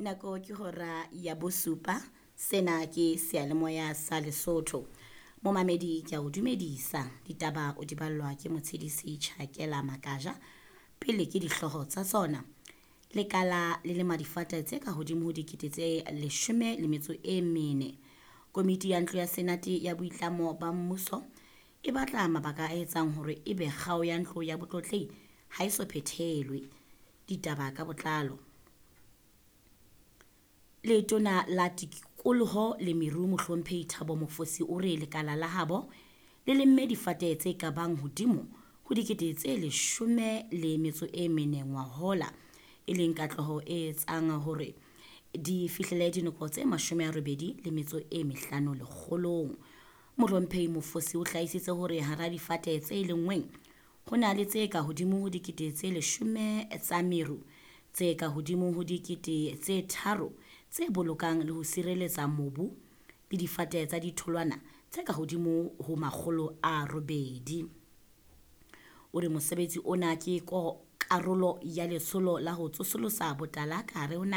Nako ke hora ya bosupa. Sena ke seyalemoya sa Lesotho. Momamedi ke a o dumedisa. Ditaba o di ballwa ke motshedisi Tjhakela Makaja. Pele ke dihlooho tsa tsona. Lekala le lema difate tse ka hodimo ho 14,000. Komiti ya ntlo ya Senate ya boitlamo ba mmuso e batla mabaka a etsang hore ebe kgao ya ntlo ya botlotlehi ha e so phethelwe. Ditaba ka botlalo. Letona la Tikoloho le Meru Mohlomphehi Thabo Mofosi o re lekala la habo le lemme difate tse ka bang hodimo ho 14,000 ngwahola, e leng katleho e etsang hore di fihlele dinoko tse 85 lekgolong. Mohlomphehi Mofosi o hlaisitse hore hara difate tse lenngweng ho na le tse ka hodimo ho 10,000 tsa meru, tse ka hodimo ho 3,000 tse bolokang le ho sireletsa mobu le difate tsa ditholwana tse ka hodimo ho 800. O re mosebetsi ona ke karolo ya letsholo la ho tsosolosa botala ka hare ho naha.